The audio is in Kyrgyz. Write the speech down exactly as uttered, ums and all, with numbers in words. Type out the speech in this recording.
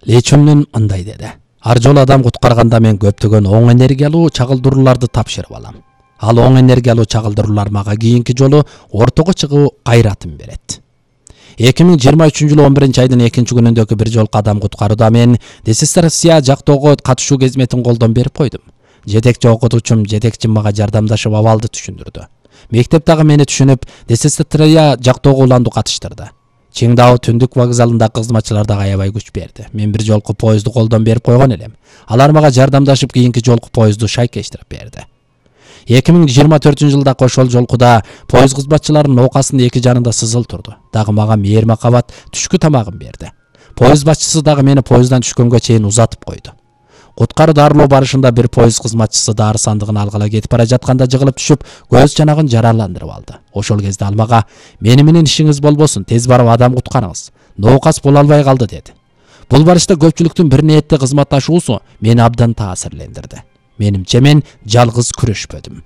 Лечүмнүн мындай деди: ар жолу адам куткарганда мен көптөгөн оң энергиялуу чагылдырууларды тапшырып алам. Ал оң энергиялуу чагылдыруулар мага кийинки жолу ортого чыгуу кайратын берет. эки миң жыйырма үчүнчү жылы он биринчи айдын экинчи күнүндөгү бир жолку адам куткарууда мен This Россия жактоого катышуу кызметін колдон берип койдум. Жетекчи окутуучум, жетекчим мага жардамдашып абалды түшүндүрдү. Мектеп дагы мени түшүнүп, This Россия жактоого уланду катыштырды. Чыңдау түндүк вокзалында кызматчылар дагы аябай күч берди. Мен бир жолку поезду колдон берип койгон элем. Алар мага жардамдашып кийинки жолку поезду шайкештирип берди. эки миң жыйырма төртүнчү жылда ошол жолкуда поезд кызматчыларынын оокасынын эки жанында сызыл турду. Дагы мага мээр макабат түшкү тамагын берди. Поезд башчысы дагы мени поезддан түшкөнгө чейин узатып койду. Куткаруу дарылоо барышында бир поезд кызматчысы дары сандыгын алгыла кетип бара жатканда жыгылып түшүп, көз жанагын жараландырып алды. Ошол кезде ал мага: "Мени менен ишиңиз болбосун, тез барып адам куткарыңыз. Ноокас боло албай калды" деди. Бул барышта көпчүлүктүн бир ниетте кызматташуусу мени абдан таасирлендирди. Менимче мен жалгыз күрөшпөдүм.